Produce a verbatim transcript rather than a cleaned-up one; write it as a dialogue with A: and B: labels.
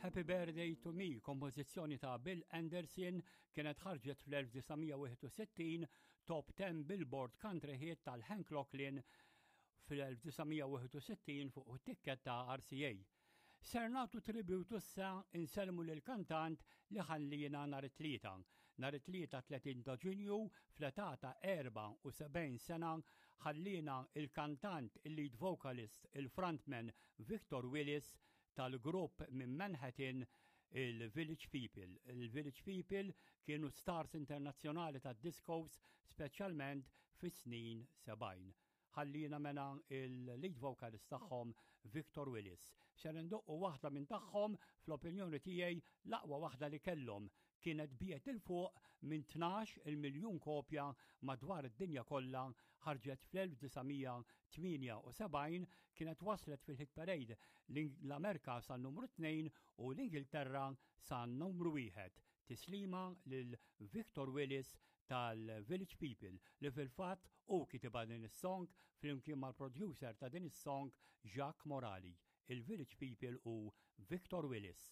A: Happy Birthday to Me, kompożizzjoni ta' Bill Anderson, kienet ħarġet fl-elf disa' mija wieħed u sittin, top ten Billboard Country Hit tal-Hank Locklin fl-elf disa' mija wieħed u sittin fuq it-tikketta ta' R C A. Ser nagħtu tributu issa, insellmu lil kantant li ħalliena nhar it-Tlieta. Nhar it-Tlieta tletin ta' Ġunju, fl-età ta' erbgħa u sebgħin sena, ħalliena il-kantant, il-lead vocalist, il-frontman Victor Willis tal-grupp minn Manhattan, il-Village People. Il-Village People kienu stars internazzjonali tad discos, speċjalment fis-snin sebgħin. Ħalliena mela il-lead vocalist tagħhom, Victor Willis. Ser indoqqu waħda minn tagħhom, fl-opinjoni tiegħi l-aqwa waħda li kellhom. Kienet biegħet 'il fuq minn tnax il miljun kopja madwar id-dinja kollha, ħarġet fl-elf disa' mija tmienja u sebgħin, kienet waslet fil-hit parade l-Amerika sa numru tnejn u l-Ingilterra sa numru wieħed. Tislima lil Victor Willis tal-Village People, li fil-fatt hu kitibha din is-song flimkien mal-producer ta' din is-song, Jacques Morali. Il-Village People u Victor Willis.